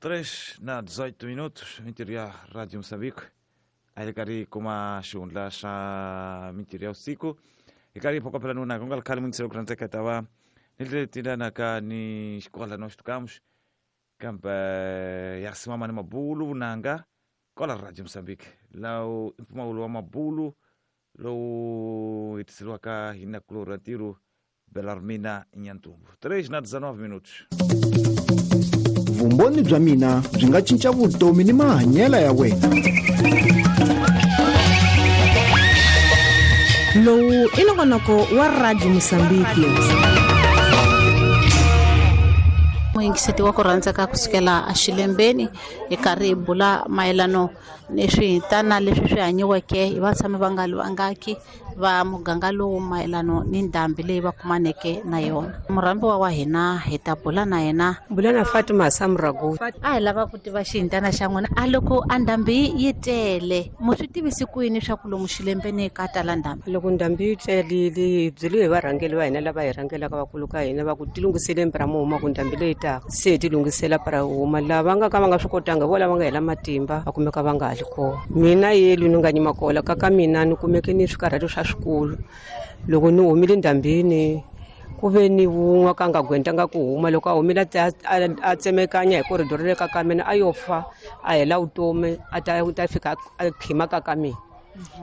3 na 18 minutos mintirho ya Radio Moçambique a hi karhi kuma xihundla xa mintirho ya vusiku hi karhi hi phokopela nuna ku nga ri khale mungiselo ku rhandzeka ta va ni letinanaka ni xikola no xitukamuxi kambe ya simama ni mabulu vunanga kwala Radio Moçambique lawu i mpfumawulo wa mabulu lowu hetiseriwaka hi nakulorhi ra ntirho Belarmina Nyantumbu. 3 na 19 minutos. Vumbhoni bya mina byi nga cinca vutomi ni mahanyelo ya wena. Lowu i nongonoko wa Radio Mosambiki. Muyingiseti wa ku rhandzeka kusukela axilembeni hi karhi hi bula mayelano ni swihintana leswi swi hanyiweke hi vatshami va nga vangaki va muganga lowu mayelano ni ndhambi leyi va kumaneke na yona. Murhambiwa wa hina hi ta bula na yena. Bula na Fatima Samrago. A hi lava ku tiva xihintana xa n'wina. A loko a ndhambi yi tele, mu swi tivisi ku yini swa ku lomu xilembeni ka tala ndhambi? Loko ndhambi yi telile hi byeliwe hi varhangeli va hina lava hi rhangelaka vakulu ka hina va ku tilunghiseleni pra mu huma ku ndhambi leyi taka. Se hi tilunghisela pra huma lava nga ka va nga swi kotanga vo lava nga hela matimba va kumeka va nga ha li kona. Mina yelu ni nga nyima kola ka ka mina ni kumeke ni swikarhati swa swikulu. Loko ni humile ndhambini ku ve ni wun'we ka nga gwentanga ku huma loko a humile a tsemekanya hi corridor le ka ka mina a yo fa a hela vutomi a ta fika a khima ka ka mina.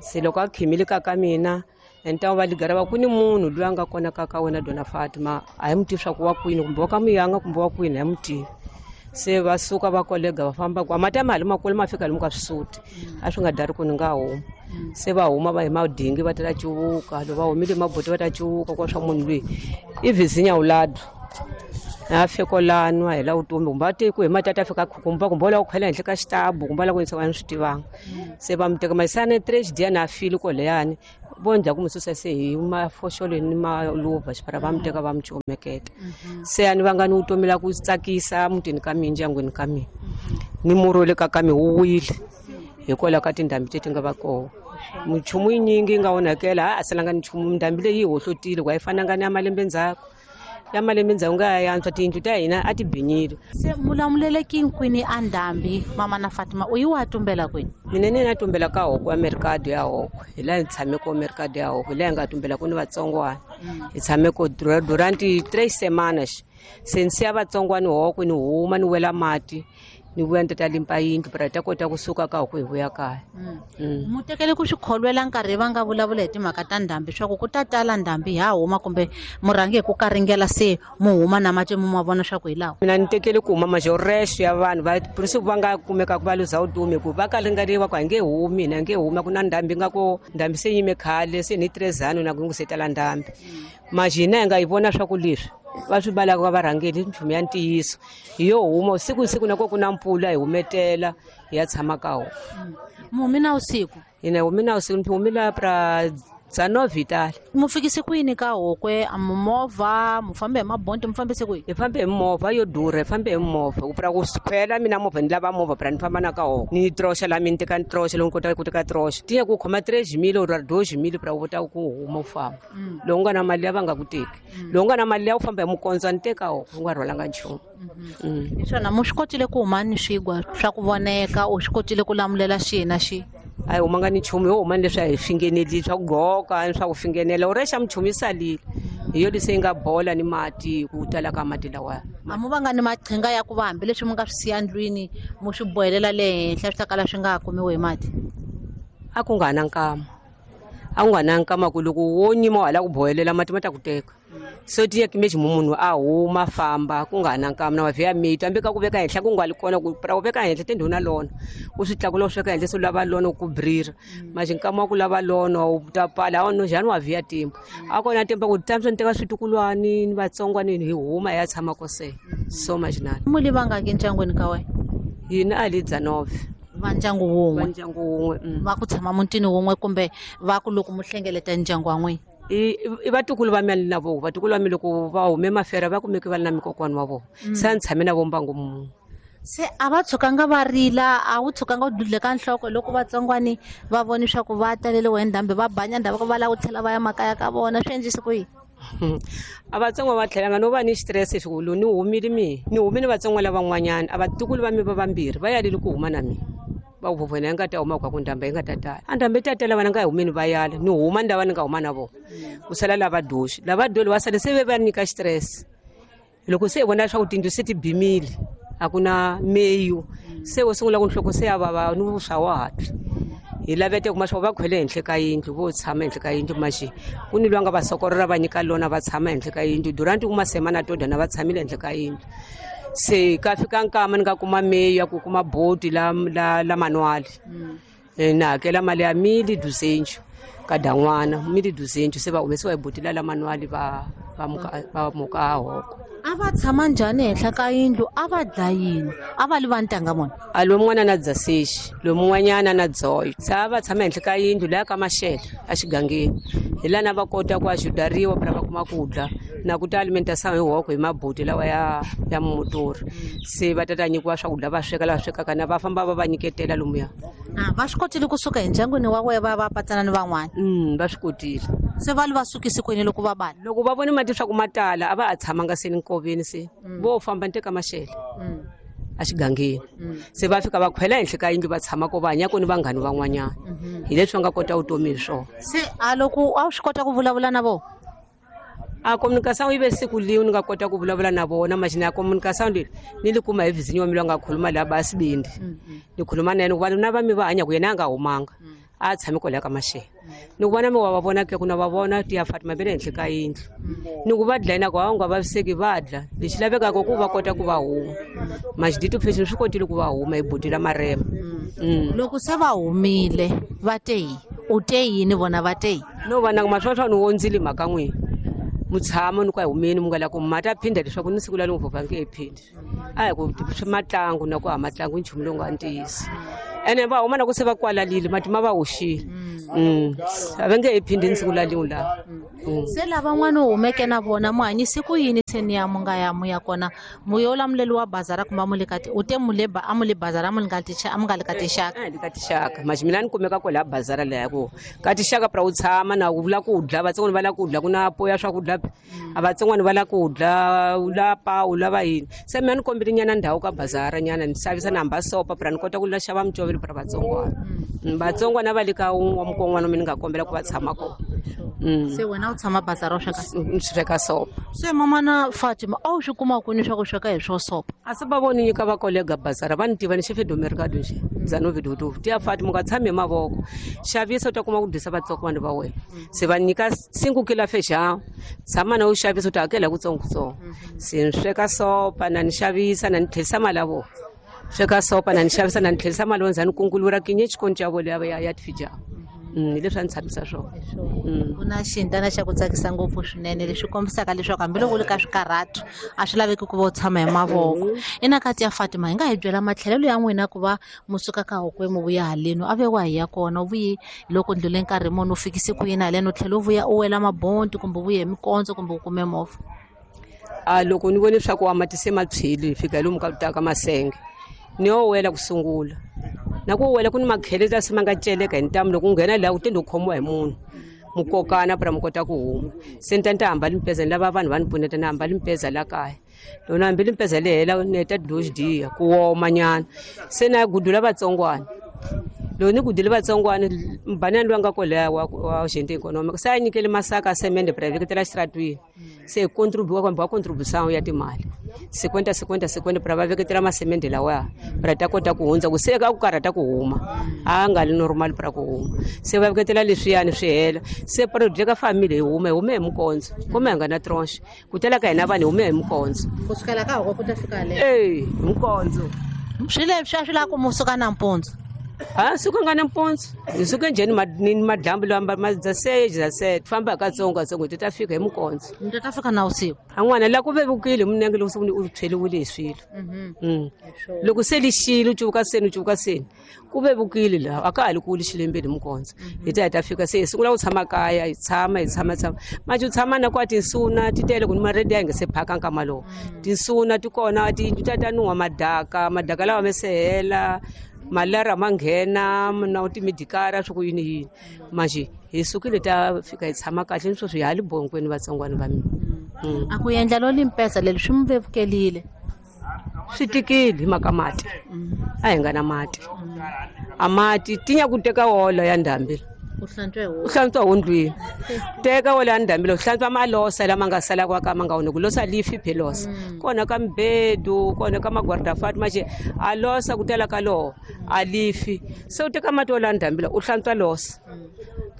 Se loko a khimile ka ka mina enta va ligara va ku ni munhu loyi a nga kona ka ka wena Dona Fatima a hi mu tivi swa ku wa kwini kumbe wa ka muyanga kumbe wa kwini a hi mu tivi. Se va suka va kolega va famba kwa mati ya mali makulu ma fika lomu ka swisuti a swi nga dari ku ni nga huma. Se va huma va hi madingi va ta cuvuka loko va humile maboti va ta cuvuka kwa swa munhu loyi i vizinya ulado a fika lano a hela vutomi kumbe a te ku hi mati a ta fika khukumba kumbe la ku khwela henhla ka xitabu kumbe la ku yisa va swi tivanga. Se va mu teka masana 3 dia na fili koleyani vo ndzhaku mu susa se hi mafoxolo ni maluva xipara va mu teka va mu comeketa. Se a ni vanga ni vutomi la ku tsakisa mutini ka mina ndyangwini ka mina ni murhi le ka ka mina wu wile hikwalaho ka tindhambi leti nga va kona. Minchumu yinyingi yi nga onhakela a salanga nchumu ndhambi leyi yi hohlotile ku a yi fananga ni ya malembe ndzhaku. Ya malembe ndzhaku nga ya yantswa tiyindlu ta hina a ti binyile. Se mulamuleleki kwini a ndhambi mama na Fatima u yi wa tumbela kwini? Mina ni na tumbela ka hoko ya mercado ya hoko hi laha hi tshame ko mercado ya hoko hi laha hi nga tumbela ku ni vatsongwana. Hi tshame ko durante 3 semanas. Se ni siya vatsongwana hoko ni huma ni wela mati ni vuya ni ta limpa yindlu pra ta kota kusuka ka hoko hi vuya kaya. Mu tekele ku swi kholwela nkarhi va nga vulavula hi timhaka ta ndhambi swa ku ku ta tala ndhambi ha huma kumbe murhangi hi ku karingela se mu huma na mati mu ma vona swa ku hi lawa. Mina ni tekele ku huma majorexe ya vanhu va principe va nga kumeka ku va luza vutomi ku va karingeriwa ku a nge humi hina nge humi ku na ndhambi nga ko ndhambi se yime khale se ni 3 ano na ku se tala ndhambi. Majina hi nga yi vona swa ku leswi va swi balaka va varhangeli nchumu ya ntiyiso hi yo huma siku siku na ko ku na mpfula hi humetela hi ya tshama ka wona. Mu humi na usiku? Hina hi humi na usiku, ni humi la pra 19 vitale. Mu fikise ku yini ka hokwe? A mu movha, mu fambe hi mabonti, mu fambise ku yini? Hi fambe hi movha yo durha, hi fambe hi movha. Ku pra ku phela mina movha ni lava movha pra ni famba na ka hokwe. Ni troxa la mina ni teka ni troxa loko ni kota ku teka troxa. Tiya ku khoma 3 mil or 2 mil pra u kota ku huma u famba. Loko u nga na mali ya va nga ku teki. Loko u nga na mali ya u famba hi mukondzo ni teka hokwe, u nga rhwalanga nchumu. Hi swona mu swi kotile ku huma ni swigwa swa ku voneka, u swi kotile ku lamulela xihi na xihi? A hi humanga ni nchumu, yo huma ni leswi a hi fingeneli swa ku goka ni swa ku fingenela. U rexa minchumu yi salile hi yo leswi yi nga bola ni mati ku tala ka mati lawaya. A mu vanga ni maqhinga ya ku va hambileswi mu nga swi siya ndlwini mu swi bohelela le henhla swi ta kala swi nga ha kumiwi hi mati? A ku nga na nkama, a ku nga na nkama ku loko wo nyima wa ha lava ku bohelela mati ma ta ku teka. So ti yeke meji munhu a huma famba ku nga na nkama na mavhiya miti hambi ka ku veka henhla ku nga li kona ku pra ku veka henhla tindhawu na lona u swi tlakula u swi veka henhla se u lava lona ku brira manje nkama wa ku lava lona u ta pala a no njhani wa vhiya timba a kona timba ku tsamisa ni teka switukulwani ni vatsongwani hi huma hi ya tshama kose so majinani. Mu li vangaki ndyangwini ka wena? Hina a li 19. Va ndyangu wun'we? Va ndyangu wun'we. Va ku tshama mutini wun'we kumbe va ku loko mu hlengeleta ndyangu wa n'wina? I vatukulu va mina na vona, vatukulu va mina loko va hume mafera va kumeke va ri na mikokwani wa vona. Se a ni tshame na vo mbangu munhu. Se a va tshukanga va rila, a wu tshukanga u dudleka nhloko loko vatsongwani va voni swa ku va taleliwe hi ndhambi va banya ndhavuko va lava ku tlhela va ya makaya ka vona, swi endlise ku yini? A vatsongo va tlhelanga no va ni stress xikulu ni humile mi ni humile vatsongo lavan'wanyana a vatukulu va mi va vambirhi va yalile ku huma na mina. Va ku vona yi nga ta huma ku ndhambi yi nga ta tala. A ndhambi yi ta tala vana nga humeni va yala ni huma ni lava ni nga huma na vona. Ku sala lava doxi lava doli va sale se ve va nyika stress. Loko se hi vona leswaku tindlu se ti bimile a ku na meyu se wo sungula ku nhloko se ya vava ni vuswa wa hatla. Hi lavete kuma swa va khwele henhla ka yindlu vo tshama henhla ka yindlu maxi ku ni lwanga va sokorora va nyika lona va tshama henhla ka yindlu durant kuma semana to dana va tshamile henhla ka yindlu. Se ka fika nkama ni nga kuma meyu ya ku kuma boti la la la manual. Na hakela mali ya mili duzenju ka dan'wana mili duzenju se va humesiwa hi boti la la manual va muka hoko. A va tshama njhani henhla ka yindlu a va dla yini a va li va ntanga mona? A lomun'wana na dzasexi lomun'wanyana na dzoyo. Se a va tshama henhla ka yindlu laya ka maxele a xigangeni hi lana va kota ku axudariwa phela va kuma ku dla na ku ta alimentação hi hoko hi mabuti lawa ya motori. Se va ta nyikiwa swakudya va sweka lava swekaka na va famba va va nyiketela lomuya. A va swi kotile kusuka endyangwini wa wena va va patsana ni van'wana? Va swi kotile. Se va li va sukisi kwini loko va bala? Loko va vone mati swa ku ma tala a va a tshamanga se ni nkoveni se vo famba ni teka maxele a xigangeni. Se va fika va khwela henhla ka yindlu va tshama ko va hanya ku ni vanghani van'wanyana. Hi leswi va nga kota vutomi hi swona. Se a loko a wu swi kota ku vulavula na vona? A communication yi ve siku lin'we ni nga kota ku vulavula na vona maxini ya communication leyi ni li kuma hi vizinyo wa mina nga khuluma laha ba Sibindi. Ni khuluma na yena ku vanhu na va mi va hanya ku yena a nga humanga. A tshami kwalaya ka maxele. Ni ku vona mi wa va vona ke ku na va vona ti ya Fatima ve le henhla ka yindlu. Ni ku va dlayina ku a nga vaviseki va dla. Lexi lavekaka ku va kota ku va huma. Maxidito phesi swi kotile ku va huma hi buti la marema. Loko se va humile va te yi u te yini vona va te yi? No va na maswoswa ni wondzile mhaka n'wina. Mutshamo ni ku a humeni mi nga la ku mata phinda leswaku ni siku la ni vhovha nge phindi. A hi ku swi matlangu na ku ha matlangu nchumu lowu nga ntiyiso. Ene va huma na ku se va kwalalile mati ma va hoxile. A va nge he phindi ni siku la lin'we laha. Se lavan'wana u humeke na vona mu hanyise ku yini se ni ya mu nga ya mu ya kona mu yo lamuleliwa wa bazara kumbe mu le ka u te mu le ba a mu le bazara mu nga ticha a mu nga le ka tixaka? A le ka tixaka maxi mina ni kumeka kwala bazara leya ku ka tixaka pra u tshama na u vula ku dla vatsongwana va la ku dla ku na po ya swakudya a vatsongwana va la ku dla u la pa u lava yini. Se mina ni kombile nyana ndhawu ka bazara nyana ni xavisa na hamba sopa pra ni kota ku la xava micovelo pra vatsongwana. Vatsongwana va le ka wa mukon'wana mina ni nga kombela ku va tshama kona. Se wena u tshama bazara u sweka sweka sopa. Se mama na Fatima a wu swi kuma kwini swa ku sweka hi swo sopa? A se va voni nyika va kolega bazara va ni tiva ni xefe do mercado nje Zanovi dodo ti ya Fatima nga tshami hi mavoko xavisa u ta kuma ku dyisa vatsongwana va wena. Se va nyika 5 kilo feijão tshama na u xavisa u ta hakela kutsongotsongo. Se ni sweka sopa na ni xavisa na ni tlherisa mali ya vona. Sweka sopa na ni xavisa na ni tlherisa mali wa ndzhaku ni kungulura kinye xikoncho ya vona ya tifijao. Hi leswi a ni tshamisa swona. Ku na xintana xa ku tsakisa ngopfu swinene leswi kombisaka leswaku hambiloko u le ka swikarhatu a swi laveki ku va u tshama hi mavoko. Ina kati ya Fatima hi nga hi byela matlhelelo ya n'wina ku va mu suka ka hokwe mu vuya haleni a ve wa hi ya kona u vuye loko ndlule nkarhi muni u fikise ku yini haleni u tlhela u vuya u wela mabonti kumbe u vuye hi mikondzo kumbe u kume movha? A loko ni vone leswaku a mati se ma tshwile hi fika lomu ka ta ka masenge ni yo wela ku sungula. Na ku wela ku ni makhele ta se ma nga celeka hi ntamu loko u nghena laha u tende u khomiwa hi munhu mukokana pra mi kota ku huma. Se ni ta ni ta hamba limpeza ni lava vanhu va ni pfuneta ni hamba limpeza la kaya. Loko ni hambi limpeza le hela ni heta doxi diya ku woma nyana. Se na ya gudula vatsongwana. Loko ni gudile vatsongwana mbanani loyi a nga kwalaya wa gente economic se a nyikele masaka a semende pra veketela xitaratwini. Se contribua kumbe wa contribution ya timali 50 50 50 pra va veketela masemende lawa pra ta kota ku hundza ku se ka ku karhata ku huma a nga li normal pra ku huma. Se va veketela leswiyani swi hela se project ka family hi hume hi mikondzo kumbe hi nga na tranche ku tela ka hina vanhu hi hume hi mikondzo ku sukela ka hoko ku ta fika le eh hi mikondzo swi leswi a swi lava ku mu suka nampundzu. A suka nga nampundzu hi suke njhani ni madlambu lawa ma dza famba katsongo katsongo ti ta fika hi mikondzo ni ta fika na vusiku. A n'wana la ku vevukile minenge loko se u tshweliwile hi swilo. Loko se lixile u cuvuka seni ku vevukile laha a ka ha li kuli xilembeni hi mikondzo hi ta hi ta fika se hi sungula ku tshama kaya hi tshama hi tshama tshama manje u tshama na kwa tinsuna ti tele ku ni maredi ya nge se phaka nkama lowu tinsuna ti kona tiyindlu ta ta nuha madaka lawa me se hela malara ma nghena na timidikara swa ku yini yini manje Hi sukile ta fika hi tshama kahle ni sweswi hi ha le bonkweni vatsongwana va mina. A ku endla lo limpesa leri swi mi vevukelile. Swi tikile hi mhaka mati. A hi nga na mati. A mati tinya ku teka wola ya ndhambi. U hlantswa hi U hlantswa hondlwini. Teka wola ya ndhambi u hlantswa malosa lama nga sala kwa ka ma nga onhaki. Losa lifi phelosa. Kona ka mbedu, kona ka magwardafati maxe a losa ku tala ka loho a lifi. Se u teka mati wola ya ndhambi u hlantswa losa.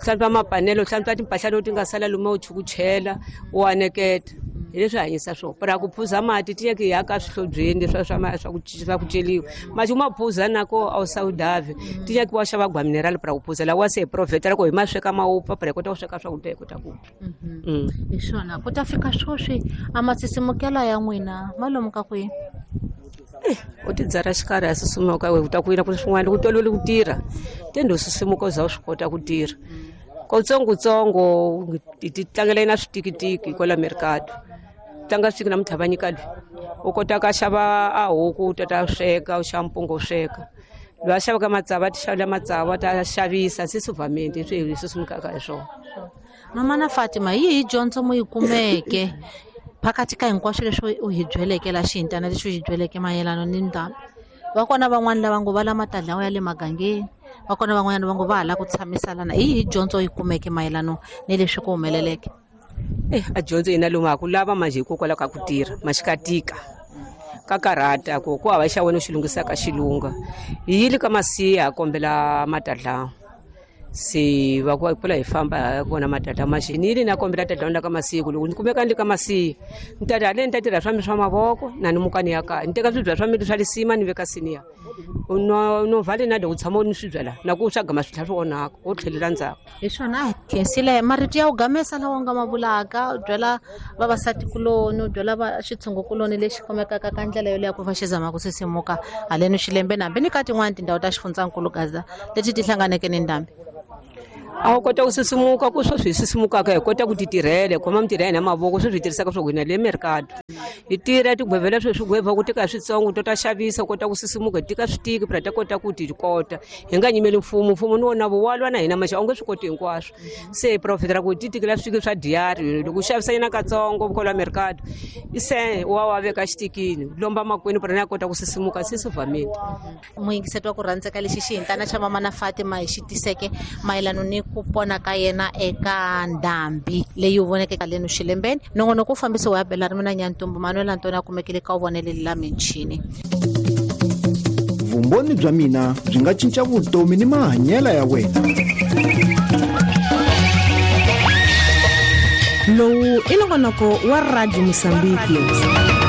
Hlantswa mapanelo, hlantswa timpahla leti nga sala luma u chukuchela, u aneketa. Hi leswi hanyisa swona. Para ku phuza mati ti yeke ya ka swihlobyeni leswi swa ku celiwa. Mati u ma phuza nako a wu sawudavi. Ti yeke wa xava gwa mineral para ku phuza lawa se hi profeta loko hi ma sweka ma wupfa para hi kota ku sweka swakudya hi kota ku twa. Hi swona ku ta fika sweswi a masisimukela ya n'wina ma lomu ka kwihi? U ti dzara xikarhi a susumuka u ta ku yina ku swin'wana loko u tolovele ku tirha tende u susumuka u za u swi kota ku tirha. Kotsongotsongo hi ti tlangela na switikitiki kwala mercado. Tlanga switiki namuntlha va nyika loyi u kota ka xava a huku u ta sweka u xava mpunga u sweka. Loyi a xavaka matsavu a ti xavela matsavu a ta xavisa se suvamente swi hi susumukaka hi swona. Mama na Fatima, hi yihi dyondzo mu yi kumeke phakathi ka hinkwaswo leswi u hi byeleke la xihintana lexi u hi byeleke mayelana ni ndhambi? Va kona van'wani lava ngo va la matadlawa ya le magangeni, va kona van'wanyana va ngo va ha lava ku tshamisalana. Hi yihi dyondzo u yi kumeke mayelana ni leswi ku humeleleke? A dyondzo yina lomu ha ku lava manjhe hikokwalaho ka ku tirha maxikatika ka karhata ku ku hava xa wena u xi lunghisaka xilunga. Hi yile ka masiya ha kombela matadlawa. Se va ku kula hi famba hi vona matadlawa manjhe ni yile na kombela tadlawa la ka masiya ku loko ni kumeka ni le ka masiya ni ta haleni ni ta tirha swa mina swa mavoko na ni muka ni ya kaya ni teka swibya swa mina swa lisima ni veka siniya. No vale na loko u tshama u ni swibya la na ku swa gama swi tlhela swi onhaka u tlhelela ndzhaku. Hi swona khensile marito ya u gamesa lawa u nga ma vulaka u byela vavasati kuloni u byela va xitshungukuloni lexi kumekaka ka ndlela yoleyo ku va xi zama ku sisimuka haleni xilembeni hambi ni ka tin'wani tindhawu ta xifundzankulu Gaza leti ti hlanganeke ni ndhambi. A wu kota ku sisimuka ku sweswi hi sisimukaka hi kota ku ti tirhela hi khoma mintirho ya hina mavoko sweswi hi tirhisaka swo hina le mercado. Hi tirha tigwevela sweswi gweva ku tika switsongo to ta xavisa u kota ku sisimuka hi tika switiki phela ta kota ku ti kota. Hi nga nyimeli mfumo, mfumo ni wona wa lwa na hina maxa a wu nge swi koti hinkwaswo. Se hi profitela ku ti tikela switiki swa diary loko u xavisa nyana katsongo kwala mercado se wa wa veka xitikini lomba makwenu phela na kota ku sisimuka se sivamile. Muyingiseti wa ku rhandzeka lexi xihintana xa mama na Fatima hi xi tiseke mayelana ni ku pona ka yena eka ndhambi leyi u voneke haleni xilembeni. Nongonoko wu fambisiwa hi Bella Rimina Nyantumbu, Manuel Antoni a kumekile ka vonele la michini. Vumbhoni bya mina byi nga cinca vutomi ni mahanyelo ya wena. Lowu i nongonoko wa Radio Mozambique.